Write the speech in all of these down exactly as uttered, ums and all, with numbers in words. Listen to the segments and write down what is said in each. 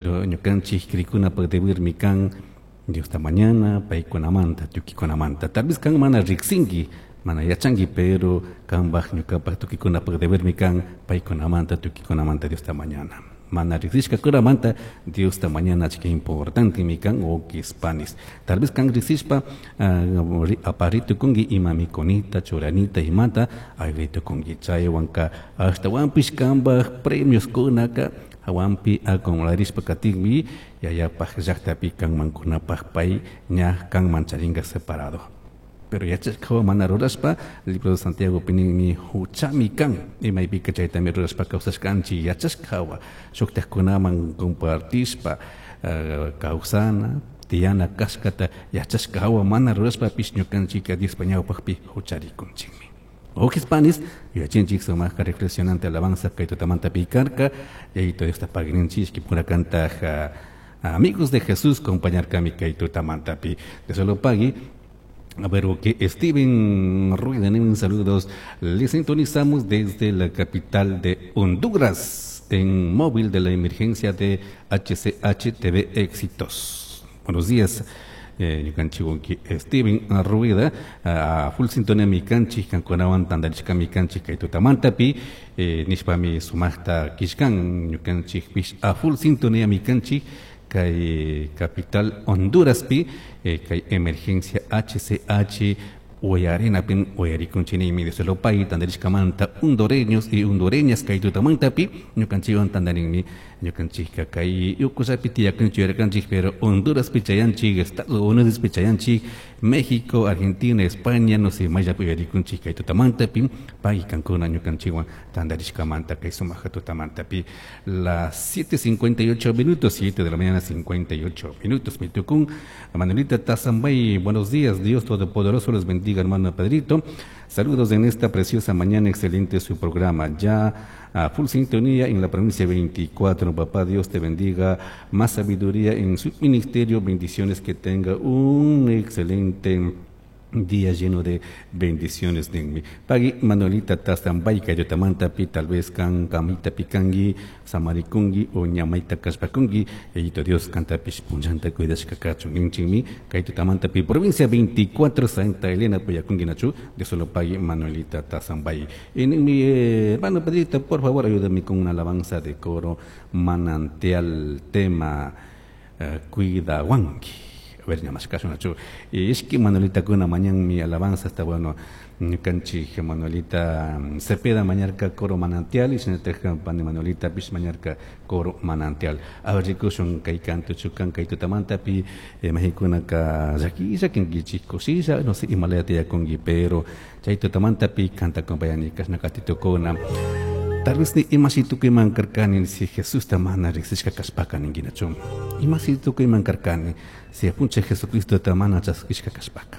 Pero ñukanchik krikunapaq debermi kan Diosta mañana paykunamanta tukikunamanta. Tal vez kan mana riksinki, mana yachanki, pero kanpaq ñukapaq tukikunapaq debermi kan paykunamanta tukikunamanta Diosta mañana. Mana riksishkakunamanta Diosta mañana achka importantemi kan wawqis panis. Tal vez kan riksishpa uh, aparitukunki ima mikunita, churanita imata ayritukunki. Chaywanka ashtawanpish kanpaq premioskunaka hawanpi acumularishpa katinmi yayapaq llaqtapi kanmankunapaq pay ña kanman charinka separado. Pero yachashkawan mana rurashpa libro de Santiago ninmi huchami kan imaypika chaytami rurashpa kawsashkanchik yachashkawa shuktakkunaman compartishpa uh, kawsana tiyana kashkata yachashkawa mana rurashpapish ñukanchika Diospa ñawpaqpi hucharikunchikmi. Wawqis panis, yuyachinchik sumaqqa reflexionante alabanza kay tutamanta pikarka, yayito Diosta pagrinchik kipurakantaq uh, amigos de Jesús compañarkami kay tutamantapi. De solo pagui. A ver, ok, Steven Rueda, saludos. Le sintonizamos desde la capital de Honduras, en móvil de la emergencia de H C H T V Éxitos. Buenos días. Eh, ñukanchik wawqi Steven Rueda, a full sintonía mikanchik, kankunawan tantarishka mikanchik kay tutamantapi, eh, nishpami sumaqta kishkan ñukanchikpish a full sintonía mikanchik kay capital Honduraspi, eh, kay emergencia H C H uyarinapin uyarikunchikmi de solo pay tantarishkamanta hondureños y hondureñas kay tutamantapi ñukanchikwan tantarinmi ñukanchikka kay ukullapi tiyakunchik yuyarkanchik, pero Honduraspi chayanchik, Estados Unidospi chayanchik, México, Argentina, España, no sé, mayllapi uyarikunchik kay tutamantapi pay kankuna ñukanchikwan tantarishkamanta kay sumaqa tutamantapi. Las siete cincuenta y ocho minutos, siete de la mañana cincuenta y ocho minutos, mi tukun Manuelita Tazambay, buenos días, Dios Todopoderoso les bendiga, hermano Pedrito. Saludos en esta preciosa mañana, excelente su programa. Ya a full sintonía en la provincia veinticuatro. Papá Dios te bendiga, más sabiduría en su ministerio, bendiciones, que tenga un excelente día lleno de bendiciones de mí. Pagui Manuelita Tazambay, Kayotamanta pi, tal vez kan kamita pikangi, samarikungi o ñamaita kashpakungi, eyito Dios canta pish punchanta cuidashka kachun inchimi, Kayotamanta pi, provincia veinticuatro, Santa Elena, Puyakungi nachu, de solo pagui Manuelita Tazambay. En mi, eh, hermano Pedrito, por favor, ayúdame con una alabanza de coro manantial, tema, eh, Cuida Wanki. A ver, nada más caso, Nacho. Y es que Manuelita con una mañana mi alabanza está bueno. Ñukanchik Manuelita Cepeda mañarka coro manantial y se pane Manuelita pish mañarka coro manantial. A ver, rikushun kay canto chukan kay tutamanta pi, eh, mexikunaka llakilla kinkichik kusilla, no sé, Himalaya tiyakunki, pero chay tutamanta pi canta compañani kashnakatitokuna. Tal vez ni ima si tukuyman karkani si Jesús ta mana riksishka kashpaka ninkinachu. Ima si tukuyman karkani si apunche Jesucristo ta mana chaskishka kashpaka.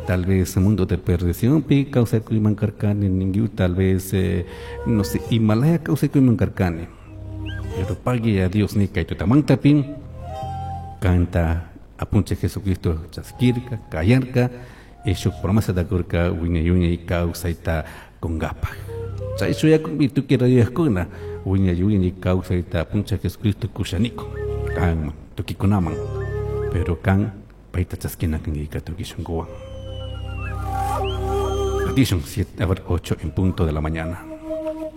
Tal vez mundo de perdición pi kawsakuyman karkani ningiu, tal vez, eh, no sé, Himalaya kawsakuyman karkani. Pero pague a Dios ni kay tutamanta pin canta apunche Jesucristo chaskirka, kayarka, y su promesa da kurka wiñay kawsayta kungapaj. Chay shuyakunmi tukuy rayaqkuna wiñay wiñay kawsayta apuncha Jesucristo kushaniko kan tukikunaman, pero kan payta chaskina kankika tukuy shunkuwan. Edición siete, a ver, ocho en punto de la mañana.